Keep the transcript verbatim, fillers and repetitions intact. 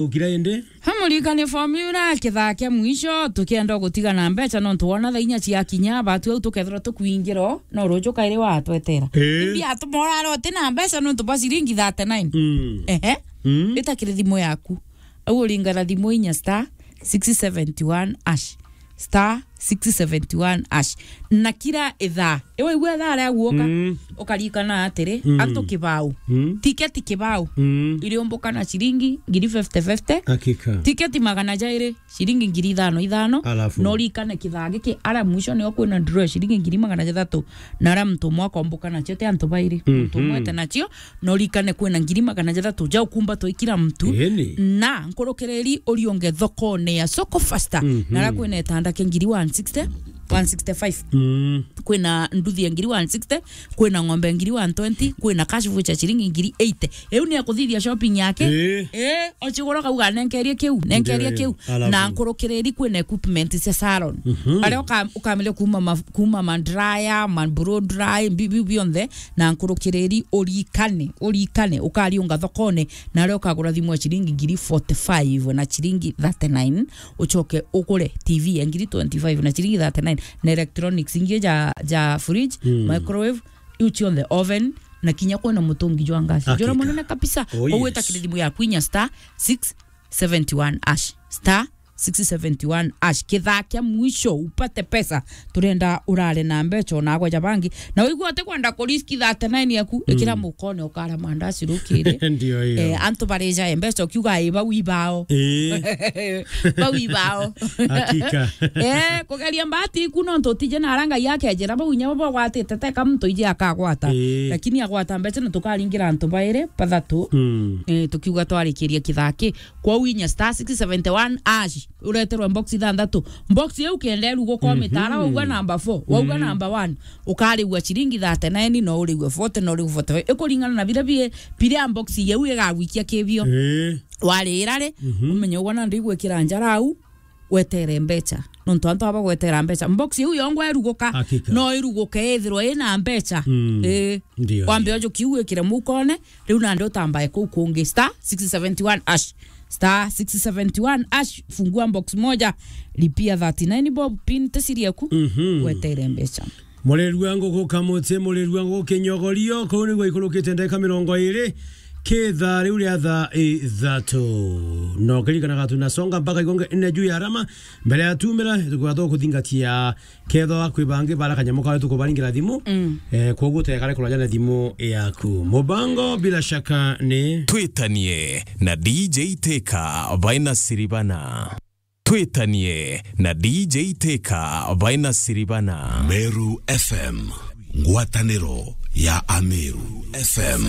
Ukira indi? Hamurikane formula, kithaa kia mwisho, tukienda gutiga na mbeca, nontu wona thaa inya ciakinya, batu au tukethirwa tukwingiro, no ruju kairi watwetera. Eh. Imbi atumora aro uti na mbeca nontu bwa ciringi thirty-nine. Mm. Ehe. Mm. Ita kiri thimu yaku. Au uringana thimu inya star six seventy one hash. Star six seventy one hash. Na kira ithaa, iwe igua ithaa ria guoka, mm, ukarikana atiri, mm, antu kibao. Mm. Tiketi kibao. Mm. Iriumbuka na ciringi ngiri fifty fifty. Hakika. Tiketi magana jairi, ciringi ngiri ithano ithano. Alafu? No rikane kithaa giki, ara mwisho nio kwina draw ya ciringi ngiri magana jathatu. Na ara muntu umwe akombuka nacio, ti antu bairi. Muntu umwe, mhm, ete nacio, no rikane kwina ngiri magana jathatu ja ukumba twi kila mtu. Eni. Na nkurukiriri uriunge thokone ya Soko Fasta. Mhm. Na ara kwina itanda kia ngiri one sixty, one sixty-five. Mm. Kwina nduthi ya ngiri one sixty, kwina ng'ombe ya ngiri one twenty, kwina cash voucher ciringi ngiri eighty. Iu ni akuthithia shopping yake. Eh. Eh, ochigura kauga, "Nenkerie kiu, nenkerie kiu." Ndio, alafu? Na nkurukiriri kwina equipment cia salon. Mhm. Aria uka-, ukamenya kuma ma-, kuma ma dryer, ma blow dry, bi-, bi-, bionthe, na nkurukiriri urikane, urikane, ukariunga thokone, na aria ukagura thimu ya ciringi ngiri forty-five na ciringi thirty-nine, ucoke ugure T V ya ngiri twenty-five na ciringi thirty-nine, na electronics ingi ja, ja fridge, mm, microwave, iu cionthe, oven, na kinya kwina mutungi jwa gas. Hakika. Jura munene kabisa. Oh, yes. Ugwita kiri thimu yaku inya star six seventy one hash. Star six seventy one hash. Kithaa kia mwisho upate pesa. Turenda urare na mbeca ona agwa ja bangi. Na wigua ati kwenda kuriski thirty-nine yaku, mm, ikira mukone ukara mandaci rukiri. Ndio hiyo. Eh, antu bareja mbeca ukiuga, "Ii, bau ibao." Eh. Bau ibao. Hakika. Eh, kugeria mbati iku nontu utije na ara Ngai akejera bau inya babo gwatite, teka muntu ije akagwata. Eh. Lakini agwata mbeca na tukaringira antu bairi, bathatu. Mm. Eh, tukiuga twarikiria kithaa ki. Kwou inya star six seventy one hash, ureterwe box ithanthatu. Box iu kenda iruguka, mhm, mitara, wauga number four, wauga, mm, number one, ukarigua ciringi thirty-nine, no urigwe forty, no urigwe forty-five. Ikuringana na biria bi-, biria box iu igagwikia kibio. Eh. Warira ri, mhm, umenye ugwa nandi igwikira njara au, wetere mbeca. Nontu antu aba gwetera mbeca. Box iu yongwa iruguka, hakika, no iruguke ithirwe ina mbeca. Mm. Eh. Ndio, wambe ndio. Ojo kiu wikire mukone, riu nandi utambae kuu kungi. Star six seventy one hash. Star six seventy one hash, fungua box moja, lipia thirty-nine bob, pin tesirie ku, mhm, wetere mbeca. Murerua nguku kamuti, murerua nguku kinyogorio, kuu nigwo ikurukite ndagika mirongo iri, kithaa riu ria thaa ithatu. No kiririkanaga tunasonga mpaka igonge nne juu ya arama, mbere ya tumira, tukwatha kuthingatia Kethwa kwi bangi bara kanyamo kawe tukubaringira thimu, mm, eh, kwoguo utekare kuraja na thimu yaku. Mubango bila shaka ni Twitanie na D J Teka baina Siribana. Twitanie na D J Teka baina Siribana. Meru F M, ngwataniro ya Ameru. F M,